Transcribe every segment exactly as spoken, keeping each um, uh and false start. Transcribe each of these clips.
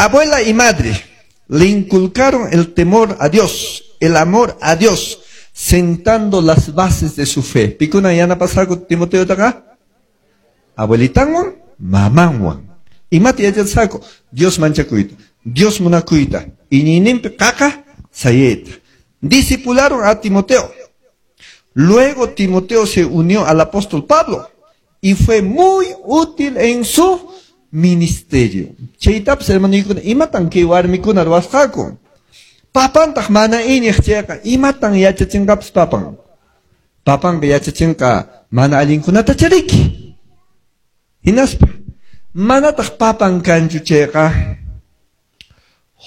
Abuela y madre le inculcaron el temor a Dios, el amor a Dios, sentando las bases de su fe. Pikuna yanapasqaku Timoteotaqa? Abuelitanwan, mamanwan. Imata yachasqaku? Dios manchakuyta, Dios munakuyta, iñiyninpi qaqa sayayta. Discipularon a Timoteo. Luego Timoteo se unió al apóstol Pablo y fue muy útil en su ministerio. Chaytapas hermanoykuna, imatan kay warmikuna ruwasqaku? Papantaq mana iñiq chayqa, imatan yachachinqapas papan? Papanqa yachachinqa mana allinkunata chariki. Hinaspa, manataq papan kanchu chayqa,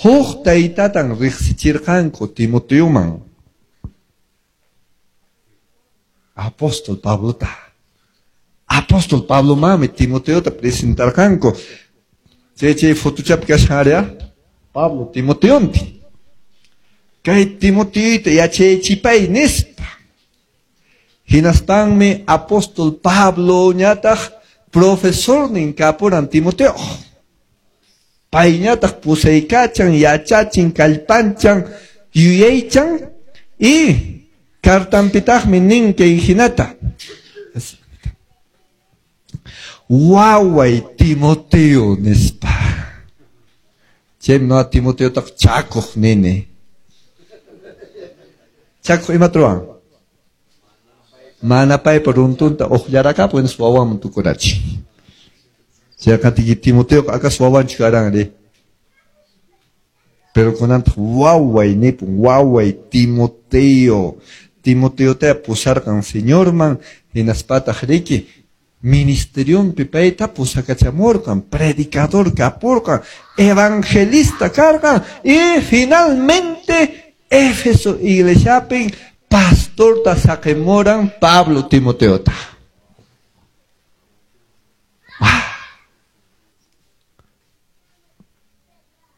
huk taytatan riqsichirqanku Timoteoman. Apóstol Pablota. Apóstol Pablo mami Timoteota presentarqanku. Chay chay fotochapi kashan área Pablo Timoteonti. Kay Timoteoyta yachaychipay nispa. Hinaspanmi apóstol Pablo ñataq profesornin kapuran Timoteo. Payñataq pusaykachan, yachachin, kallpanchan, yuyaychan y cartanpitaqmi nin kay hinata. Waway Timoteo nispa. Chaymi no Timoteotaq chakuq nini. Chakuq imata ruwan? Mana paypa runtunta uqllarakapun nispa wawanman tukurachin. Chayqa Timoteo acaso wawanchu karan ri? Pero kunantaq waway nipun, waway Timoteo. Timoteota pusarqan Señorman hinaspataq riki ministerionpi payta pusakachamurqan, predicador kapurqan, evangelista karqan y finalmente Éfeso iglesiapin pastorta saqimuran Pablo Timoteota.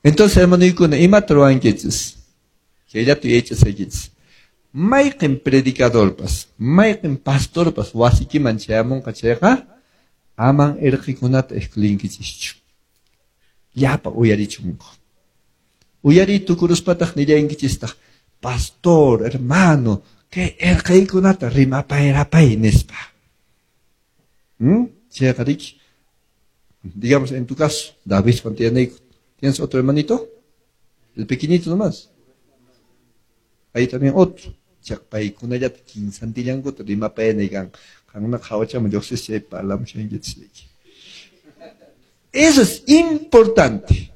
Entonces, hermanoykuna, imata ruwankichis? Chayllata yachasaykichis. Mayqin predicadorpas, mayqin pastorpas wasikiman chayamunqa chayqa, aman irqikunata excluyinkichischu. Llapa uyarichunku. Uyariy tukuruspataq nillankichistaq, pastor, hermano, kay irqiykunata rimapayrapay nispa. ¿Mm? Chayqa riki, digamos en tu caso, David Fantianeico, ¿tienes otro hermanito? El pequeñito nomás. Ahí también otro. Paykunallata kinsantillankuta rimapayanaykan. Qankunaqa hawachaman lluqsispa chay parlamushankichis. Eso es importante.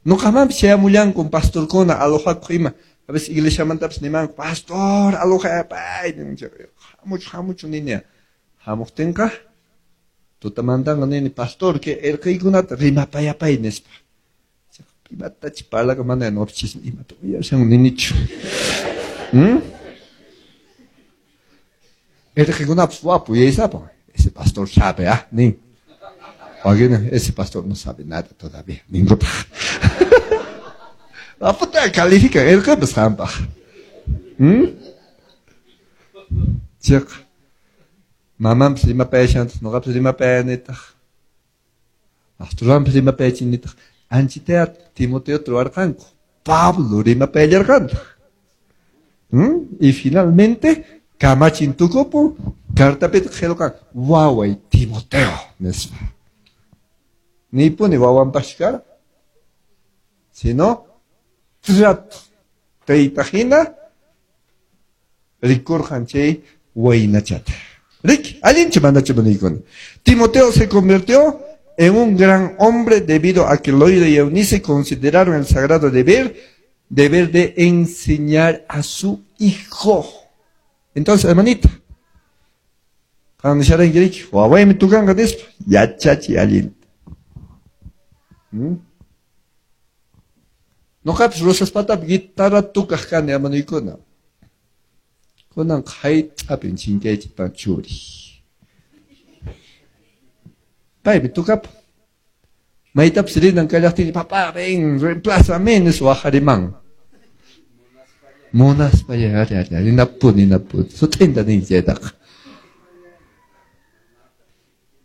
Ñuqamanpis chayamullankun pastorkuna alojakuq ima. A veces iglesiamantapas nimanku, pastor, alojapay. Hamuchu, hamuchu nini. Hamuqtinqa tutamantanqa nini, pastor, kay irqiykunata rimapayapay nispa. Imatachi parlaqa mana noqchis imata uyashan ninichu. ¿Mm? Irqikunapas wapu yaysapa. Ese pastor sabe, ah, nin. Alguien, ese pastor no sabe nada todavía, ninkutaq. Aputa califica irqipas qampaq. ¿Mm? Chayqa mamanpas rimapayashantaq, ñuqapas rimapayanitaq. Pastorwanpas rimapayachinitaq. Anchitaya Timoteo ruwarqanku. Pablo rimapayallarqantaq. ¿Mm? Y finalmente kamachin tukupun cartapitaq qillqan waway Timoteo nispa. Nipuni wawanpaschu kara, sino trato tayta hina rikurqan chay waynachata. Riki, allinchu manachu manaykuna. Timoteo se convirtió en un gran hombre debido a que Loida y Eunice consideraron el sagrado deber, deber de enseñar a su hijo. Entonces, hermanita, cuando wawaymi tukanqa nispa, yachachi allinta. Ñuqapas Rosaspatapi guitarra tukaq kani hermanoykuna. Kunanqa hayt'apin chinkaychikpan churi. Paymi tukapun. Maytapas rinan kallaqtin, papá, ven, reemplázame, nispa waqariman. Munaspa ari, ari, ari, ninapuni, ninapuni. Sut'inta nin chaytaqa.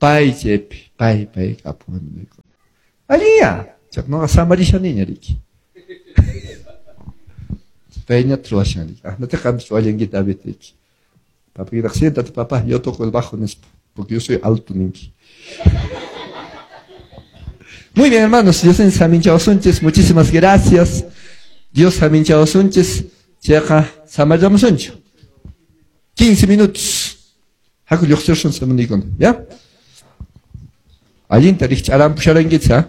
Pay chaypi, pay, pay kapun. Allinya, No, samarishaniña riki. Payña ruwashan riki. Ah, no te cambies David riki. Papá, siéntate, papá, yo toco el bajo, porque yo soy alto ninki. Muy bien, hermanos, Dios saminchawasunchis, muchísimas gracias. Dios saminchawasunchis, chayqa samarllamusunchu. quince minutos. Haku lluqsirsun samunikuna, ¿ya? Allinta rikch'arampusharankichis, ¿ah?